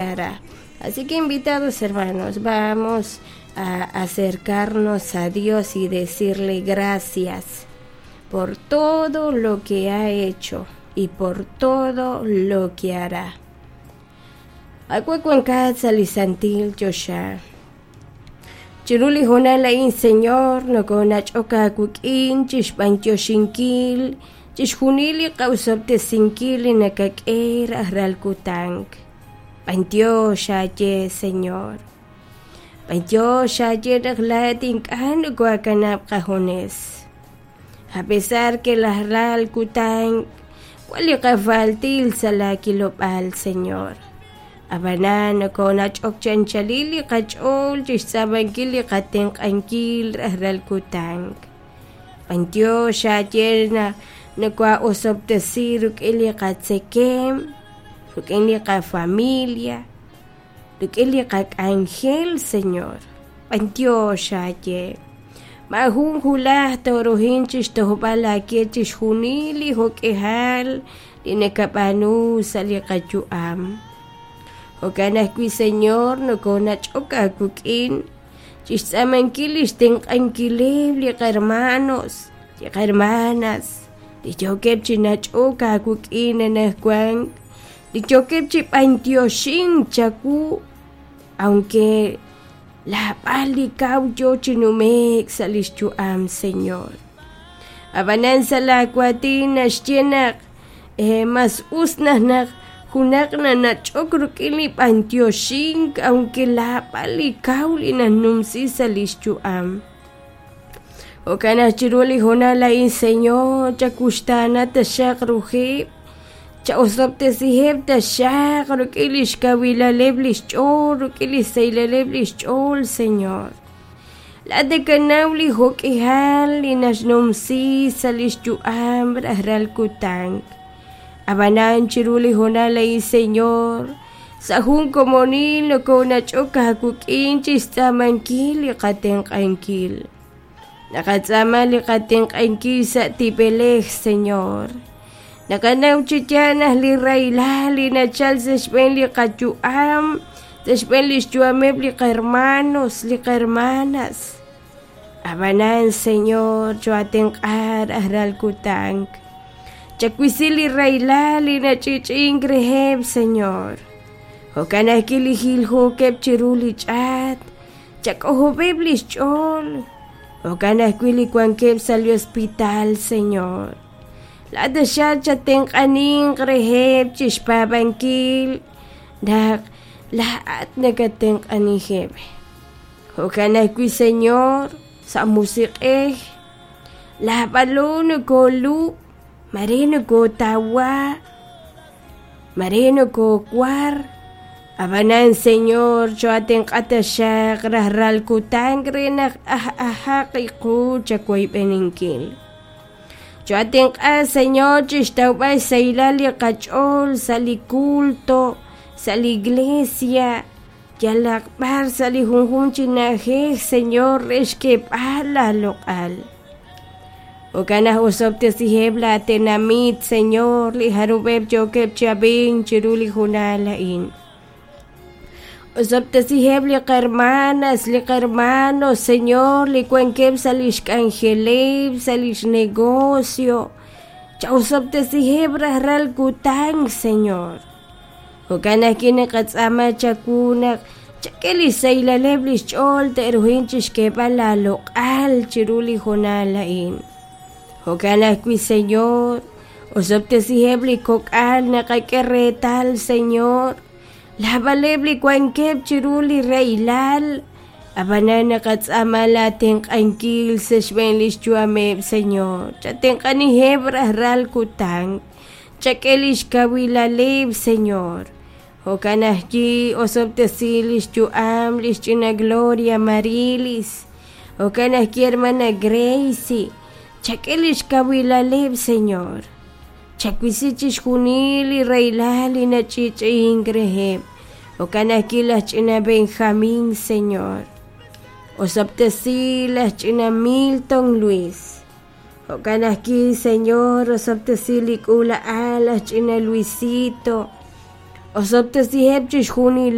Hará. Así que invitados hermanos, vamos a acercarnos a Dios y decirle gracias por todo lo que ha hecho y por todo lo que hará. Awe wankat sa li santil choxa. Chiru li hoonal a'in, Señor, nokonach'ok aawik'in chixb'antioxinkil chixjunil li qa'usob'tesinkil li nakak'e rajlal kutan. B'antiox aaye, Señor. B'antiox aaye naq laa'at ink'a' nokoakanab' qajunes. A pesar que rajlal kutan wan li qafaltil sa' laakilob'aal, Señor. Ab'anan nokonach'ok chi anchalil li qach'ool chixtz'aamankil li qatenq'ankil rajlal kutan. B'antiox aaye naq nokoa'osob'tesi rik'in li qatzekem, rik'in li qafamilia, rik'in li qak'anjel, Señor. B'antiox aaye. Maajun hulaj tooruhin chixtojb'al aawe chixjunil li jo'k'ihal li nakab'aanu sa' li qayu'am. Jo'kan ajwi', Señor, nokonach'ok aawik'in chixtz'aamankil lix tenq'ankileb' li qahermanos, li qahermanas, li yookeb' chi nach'ok aawik'in anaqwan, li yookeb' chi b'antioxink chawu, aunque laab'al li kaw yoo chi nume'k sa' lix yu'am, Señor. Ab'anan sa' laawaatin naxye naq mas us naq naq junaq nanach'ok rik'in li b'antioxink aunque laab'al li kaw li nanumsi sa' lix yu'am. Jo'kan naq chiru li hoonal a'in, Señor, chakuxtaana taxaq ruheb', cha'osob'tesiheb' taxaq rik'in lix kawilaleb' lix ch'ool, rik'in lix sahilaleb' lix ch'ool, Señor. Laa'at nakanaw li jo'k'ihal li naxnumsi sa' lix yu'am rajlal kutan. Ab'anan chiru li hoonal a'in, Señor, sa' jun komonil nokonach'ok aawik'in chixtz'aamankil li qatenq'ankil. Naqatz'aama li qatenq'ankil sa' tib'elej, Señor. Naqanaw chi yaal naq li rahilal li nachal sa' xb'een li qayu'am, sa' xb'een lix yu'ameb' li qahermanos, li qahermanas. Ab'anan, Señor, chooatenq'a rajlal kutan. Chawisi li rahilal li nach'i'ch'i'ink reheb', Señor. Jo'kan ajwi' li jiljookeb' chiru li ch'aat, chak'ojob'eb' lix ch'ool. Jo'kan ajwi' li wankeb' sa' li hospital, Señor. Laa'at taxaq chatenq'aninq reheb' chixpaab'ankil naq laa'at nakatenq'aniheb'. Jo'kan ajwi', Señor, sa' musiq'ej, laab'alo nokoolub', mare nokootawa, mare nokoowar. Ab'anan, Señor, chooatenq'a taxaq rajlal kutan re naq aj'ajaq qu chawoyb'eninkil. Chooatenq'a, Señor, chixtawb'al xsahilal li qach'ool sa' li culto, sa' li iglesia, yalaq b'ar sa' li junjunq chi na'ajej, Señor, re xk'eeb'al laaloq'al. Jo'kan naq osob'tesiheb' laatenamit, Señor, li jarub'eb' yookeb' chi ab'ink chiru li hoonal a'in. Osob'tesiheb' li qahermanas, li qahermanos, Señor, li wankeb' sa' lix k'anjeleb', sa' lix negocio. Cha'osob'tesiheb' rajlal kutan, Señor. Jo'kan ajwi' naqatz'aama chawu naq chak'e li xsahilaleb' li xch'ool te'ruhin chixk'eeb'al laaloq'al chiru li hoonal a'in. Jo'kan ajwi', Señor, osob'tesiheb' li kok'al naqak'e reetal, Señor, laab'aleb' li wankeb' chiru li rahilal, ab'anan naqatz'aama laatenq'ankil sa' xb'een li xyu'ameb', Señor. Chatenq'aniheb' rajlal kutan. Chak'e lix kawilaleb', Señor. Jo'kan ajwi' osob'tesi lix yu'am lix ch'ina Gloria Marilis. Jo'kan ajwi' hermana Gracie. Chak'e lix kawilaleb', Señor. Chawisi chixjunil li rahilal li nach'i'ch'i'ink reheb'. Jo'kan ajwi' laj ch'ina Benjamín, Señor. Osob'tesi laj ch'ina Milton Luis. Jo'kan ajwi', Señor, osob'tesi li k'uula'al laj ch'ina Luisito. Osob'tesiheb' chixjunileb'.